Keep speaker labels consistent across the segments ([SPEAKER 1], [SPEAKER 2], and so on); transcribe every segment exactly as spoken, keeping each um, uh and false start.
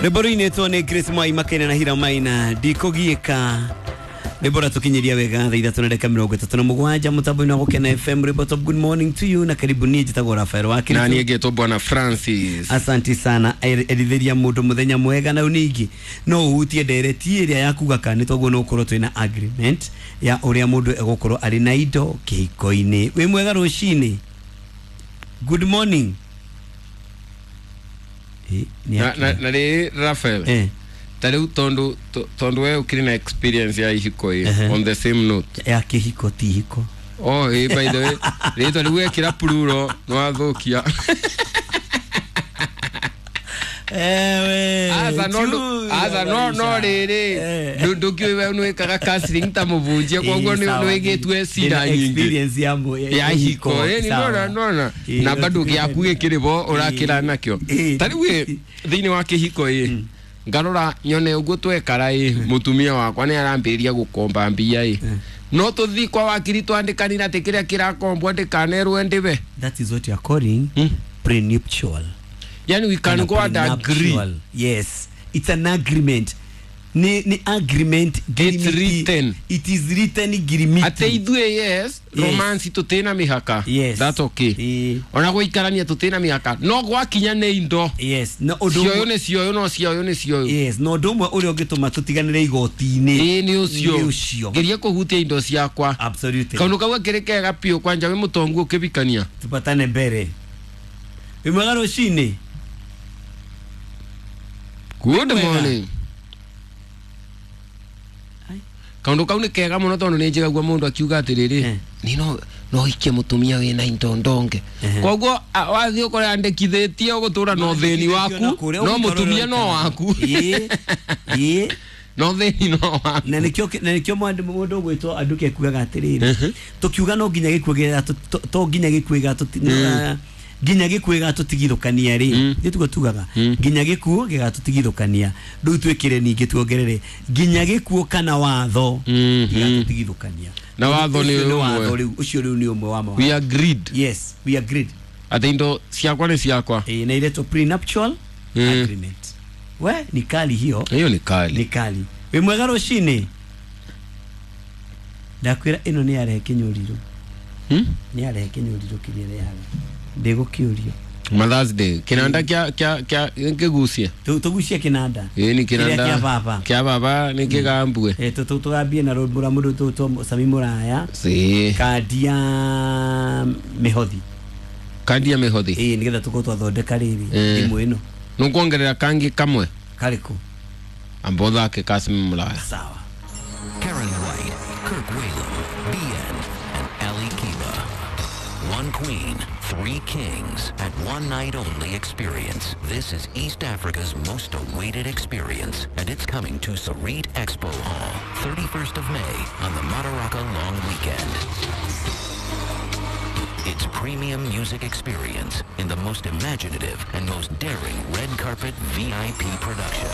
[SPEAKER 1] Rwĩmbo rũinĩtwo nĩ Grace Mwai Makena na Hira Maina ndikũgiĩka. Rwĩmbo rũratũkinyĩria wega thaa ithatũ na ndagĩka mĩrongo ĩtatũ na mũgwanja mũtambo-inĩ wa Gũkena F M. Rwĩmbo top. Good morning to you na karibu. Niĩ njĩtagwo Rafael wa Kiritu.
[SPEAKER 2] Na niĩ ngetwo Bwana Francis.
[SPEAKER 1] Asante sana. Erithĩria mũndũ mũthenya mwega. Na ningĩ no ũhutie ndereti ĩrĩa ya kuga kana toguo no ũkorwo twĩna agreement ya ũrĩa mũndũ egũkorwo arĩ na indo kĩhiko-inĩ. Wĩ mwega rũcinĩ. Good morning. Eh,
[SPEAKER 2] na na na rĩ Rafael.
[SPEAKER 1] Eh.
[SPEAKER 2] Ta rĩu tondu tondu we ukiri na experience ya ihiko ĩ,
[SPEAKER 1] uh -huh.
[SPEAKER 2] on the same note
[SPEAKER 1] ya kĩhiko ti ihiko.
[SPEAKER 2] Oh, eh, by the way, rĩtwa rĩu wekĩra plural no wathukia.
[SPEAKER 1] Ewe.
[SPEAKER 2] Asa no asa no no rĩrĩ ndũkĩũĩ we nĩwĩkaga counseling ta mũbunjia koguo nĩwĩgĩtue cira nyingĩ.
[SPEAKER 1] Experience ya
[SPEAKER 2] ya ihiko ĩ nona nona na bado gĩaku gĩkĩrĩ bo ũrakĩra nakĩo. Ta rĩu ĩ thĩinĩ wa kĩhiko ĩ ngarora nyone uguo twekara ĩ mutumia wakwa nĩ arambĩrĩria gũkomba mbia ĩ no tũthi kwa wakiri twandĩkanire atĩ kĩrĩa kĩrakombwo ndĩkanerwo ndĩbe.
[SPEAKER 1] That is what you are calling hmm? Prenuptial.
[SPEAKER 2] Yani we can go and agree.
[SPEAKER 1] Yes, it's an agreement. Ni, ni agreement.
[SPEAKER 2] It's written.
[SPEAKER 1] It is written girimiti.
[SPEAKER 2] Ate ithuĩ yes, romance tũtĩna mĩhaka.
[SPEAKER 1] Yes.
[SPEAKER 2] That's okay.
[SPEAKER 1] E.
[SPEAKER 2] Ona gũikarania tũtĩna mĩhaka. No gwakinya nĩ indo.
[SPEAKER 1] Yes. No ũndũ
[SPEAKER 2] cioyo nĩ cioyo no cioyo nĩ cioyo.
[SPEAKER 1] Yes, no ũndũ ũmwe ũrĩa ũngĩtũma tũtiganĩre igoti-inĩ.
[SPEAKER 2] Ĩĩ nĩ ũcio.
[SPEAKER 1] Nĩ ũcio.
[SPEAKER 2] Geria kũhutia indo ciakwa.
[SPEAKER 1] Absolutely.
[SPEAKER 2] Kaũndũ kau gakĩrĩ kega biũ kwanja wĩ mũtongu ũkĩbikania.
[SPEAKER 1] Tupatane mbere. Wĩ mwega rũcinĩ.
[SPEAKER 2] Good morning. Kaundu kau nĩ kega mũno tondũ nĩ njigagua mũndũ akiuga atĩrĩrĩ ni no no ikie mũtumia wĩna indo ndonge. Koguo wathiĩ ũkore andĩkithĩtie ũgũtũra no thĩni waku no mũtumia no waku.
[SPEAKER 1] Ĩĩ ĩĩ
[SPEAKER 2] no thĩni no waku.
[SPEAKER 1] Na nĩkĩo na nĩkĩo mũndũ ũgwĩtwo Anduke ekugaga atĩrĩrĩ tũkiuga no nginya gĩkuũ gĩa to nginya gĩkuũ gĩa nginya gĩkuũ gĩgatũtigithũkania rĩ nĩ tugo tugaga nginya gĩkuũ gĩgatũtigithũkania rĩu twĩkĩre ningĩ tuongerere nginya gĩkuũ kana watho gĩgatũtigithũkania.
[SPEAKER 2] Na watho nĩ
[SPEAKER 1] watho rĩu ũcio rĩu nĩ ũmwe wa mawatho.
[SPEAKER 2] We agreed.
[SPEAKER 1] Yes, we agreed.
[SPEAKER 2] Atĩ indo ciakwa nĩ ciakwa.
[SPEAKER 1] Eh, na iretwo prenuptial agreement. We ni kali hiyo.
[SPEAKER 2] Hiyo ni kali.
[SPEAKER 1] Ni kali. Wĩ mwega rũcinĩ. Ndakwĩra ĩno nĩ yarehe kĩnyũriro.
[SPEAKER 2] Hmm?
[SPEAKER 1] Nĩ yarehe kĩnyũriro kĩrĩa ĩrehaga. Ndĩgũkĩũrio.
[SPEAKER 2] Mother's Day kinanda kya kya kya ngigucie
[SPEAKER 1] tugucie kinanda
[SPEAKER 2] ĩ ni kinanda
[SPEAKER 1] kĩa baba
[SPEAKER 2] kĩa baba nĩ kĩgambue
[SPEAKER 1] eh tũgambie na rwĩmbo rwa mũndũ tũtwo Sami Muraya
[SPEAKER 2] si
[SPEAKER 1] kandi ya mĩhothi
[SPEAKER 2] kandi ya mĩhothi
[SPEAKER 1] ĩ nĩgetha tũkorwo twathondeka rĩrĩ thimũ ĩno
[SPEAKER 2] nũkuongerera kangi kamwe
[SPEAKER 1] karĩkũ
[SPEAKER 2] ambo thake ka Sami Muraya.
[SPEAKER 1] Sawa.
[SPEAKER 3] Karen White, Kirk Whalum, B N and Ali Kiba. One queen, three kings at one night only experience. This is East Africa's most awaited experience, and it's coming to Sarit Expo Hall, thirty-first of May on the Madaraka Long Weekend. It's premium music experience in the most imaginative and most daring red carpet V I P production.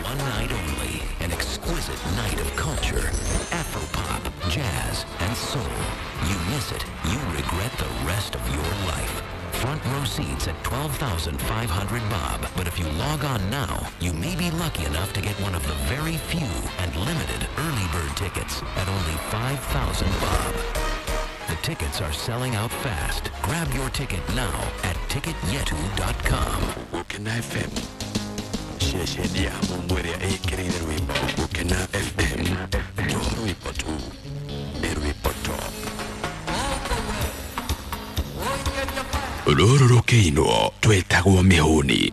[SPEAKER 3] One night only, an exquisite night of culture, Afropop, jazz, and soul. You miss it, you regret the rest of your life. Front row seats at twelve thousand five hundred bob. But if you log on now, you may be lucky enough to get one of the very few and limited early bird tickets at only five thousand bob. The tickets are selling out fast. Grab your ticket now at ticket yetu dot com.
[SPEAKER 4] Gũkena F M. Ceceni ya Mungu ĩrĩa ĩkĩrĩire rwĩmbo Gũkena F M. To rwĩmbo tu nĩ rwĩmbo top. Rũrũ rũkĩinwo twĩtagwo mĩhũni.